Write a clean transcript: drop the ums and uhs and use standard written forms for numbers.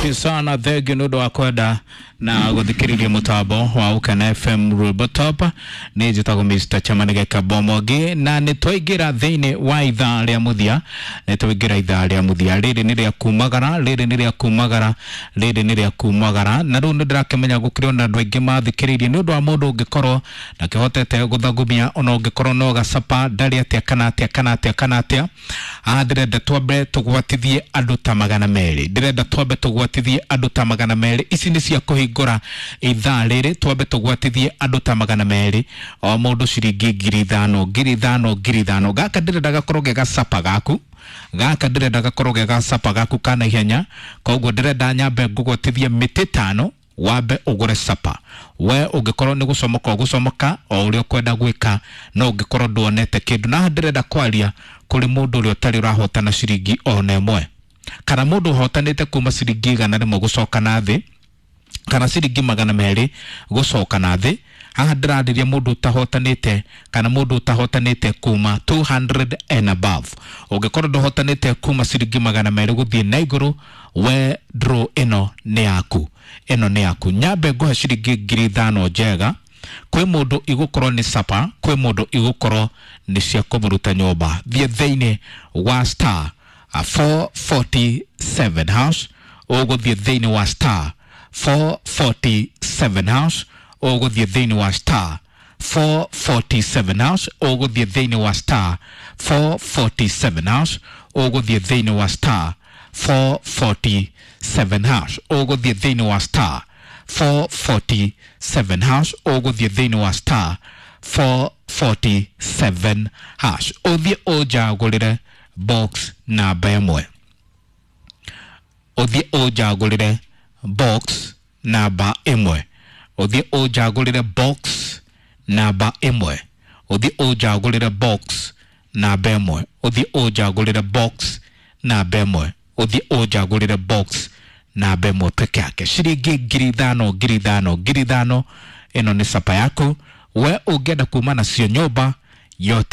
Sana thengio nä å ndå wa kwenda na gå thikä rä ria må tambo wa Ukena FM Rwimbo Top. Nä njätagwo Mr Chamanige Kabomogi na nä twaingä ra thä inä wa ithaa rä a må thia, nä twaingä ra ithaa rä a må thia rä rä nä rä a kumagara, rä rä nä rä a kumagara, rä rä nä rä a kumagara. Na rä u nä ndä rakĩmenya gå kä rä ona andå aingä mathikä rä irie nä å ndå wa må ndå å ngä korwo ndakĩhotete gũthagumia ona ũngĩkorwo no gacapa ndarĩ atĩa kana atĩa kana atĩa kana atĩa. Ah, ndĩrenda twambe tũgwatithie andũ ta 200, ndĩrenda twambe tũgwatithie andũ ta 200. Ici nĩ cia kũhingũra ithaa rĩrĩ, twambe tũgwatithie andũ ta 200, o mũndũ ciringi 5,000, 5,000, 5,000. Gaka ndĩrenda gakorwo ge gacapa gaku, gaka ndĩrenda gakorwo ge gacapa gaku ka naihenya. Koguo ndĩrenda nyambe ngũgwatithie mĩtĩ 5 wambe ũgũre capa. We ũngĩkorwo nĩ gũcomoka ũgũcomoka o ũrĩa ũkwenda gwĩka, no ũngĩkorwo nduonete kĩndũ. Na haha ndĩrenda kwaria kũrĩ mũndũ ũrĩa ũtarĩ ũrahotana ciringi ona ĩmwe, kana mũndũ ũhotanĩte kuma ciringi 100 gũcoka na thĩ, kana ciringi 200 gũcoka na thĩ. Haha ndĩrarĩria mũndũ ũtahotanĩte kana mũndũ ũtahotanĩte kuma 200 and above. Ũngĩkorwo ndũhotanĩte kuma ciringi 200 gũthiĩ na igũrũ, we draw ĩno nĩ yaku, ĩno nĩ yaku. Nyambe ngũhe ciringi 5,000 njega. Kwĩ mũndũ igũkorwo nĩ capa, kwĩ mũndũ igũkorwo nĩ cia kũmũruta nyũmba. Thiĩ thĩinĩ wa star 447 hash, ũgũthiĩ thĩinĩ wa star 447 hash, ũgũthiĩ thĩinĩ wa star 447 hash, ũgũthiĩ thĩinĩ wa star 447 hash, ũgũthiĩ thĩinĩ wa star 447 hash, ũgũthiĩ thĩinĩ wa star 447 hash, ũgũthiĩ thĩinĩ wa star 447 hash, ũthiĩ ũnjagũrĩre box namba 1, ũthiĩ ũnjagũrĩre box namba 1, ũthiĩ ũnjagũrĩre box namba 1, ũthiĩ ũnjagũrĩre box namba 1, ũthiĩ ũnjagũrĩre box namba 1, ũthiĩ ũnjagũrĩre box namba 1 peke yake. Ciringi 5,000, 5,000, 5,000. Ĩno nĩ capa yaku we ũngĩenda kuma nacio nyũmba yote.